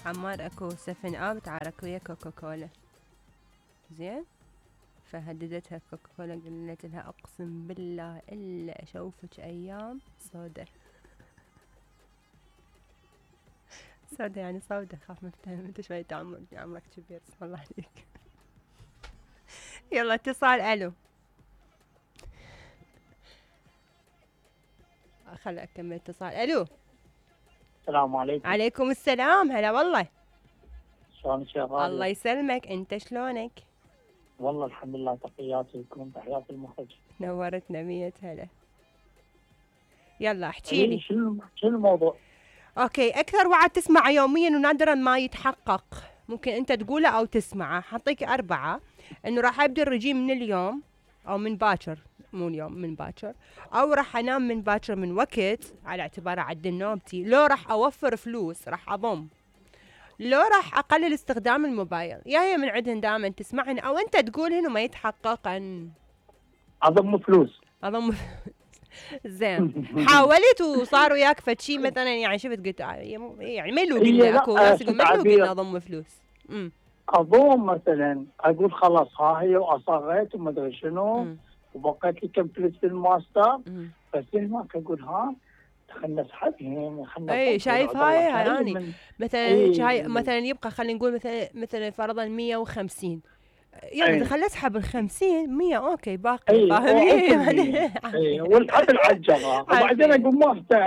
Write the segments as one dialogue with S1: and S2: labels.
S1: حمار اكو 7 اب تعارك ويا كوكا كولا. زين، فهددتها كوكا كولا، قالت لها اقسم بالله الا اشوفك ايام سودة. سودة يعني سودة، خاف مفتهم انت شوية عمرك كبير، بسم الله عليك. يلا اتصال. الو، خل اكمل اتصال. الو،
S2: السلام عليكم.
S1: عليكم السلام، هلا والله.
S2: شلونك يا غالية؟
S1: الله يسلمك، انت شلونك؟
S2: والله الحمد لله، تحياتي لكم، تحياتي المخرج.
S1: نورتنا 100 هلا. يلا احكي لي.
S2: شنو الموضوع؟
S1: اوكي، اكثر وعد تسمعه يوميا ونادرا ما يتحقق، ممكن انت تقوله او تسمعه. حطيك 4، انه راح ابدي الرجيم من اليوم او من باكر، مو اليوم، من باكر، او راح انام من باكر من وقت على اعتبار اعدل نومتي، لو راح اوفر فلوس راح اضم، لو راح اقلل استخدام الموبايل. يا هي من عندهن دائما تسمعن او انت تقولهن وما يتحققن.
S2: اضم فلوس.
S1: اضم. زين، حاولت وصار وياك فشي مثلا، يعني شفت قلت يعني ما يلوق لنا، اكو ناس يقول ما يلوق لنا اضم فلوس.
S2: اضم مثلا، اقول خلاص ها هي واصغيت وما ادري شنو، وبقيت لي كم فلوس في الماستر، بس هناك اقول ها خلنا نسحبهم، خلنا.
S1: اي شايف هاي يعني مثلا هاي مثلا يبقى خلينا نقول مثلا فرضا 150، يلا خلينا اسحب ال 50 100 اوكي باقي، فاهمني؟
S2: اي والحبل على الجرة، وبعدين اقول ماستر،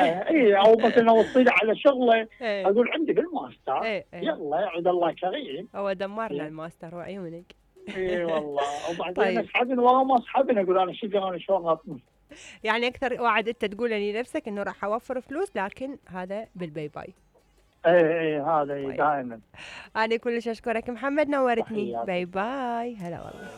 S2: او مثلا اوصي على شغله اقول عندي بالماستر، يلا يعود الله كريم.
S1: هو دمرنا الماستر وعيونك.
S2: اي والله، وبعدين اسحبن ورا ما اسحبن اقول انا انا شلون اطمن.
S1: يعني اكثر وعد انت تقوله لنفسك انه راح اوفر فلوس، لكن هذا بالباي باي.
S2: اي هذا دائما.
S1: انا كلش اشكرك محمد، نورتني. باي باي، هلا والله.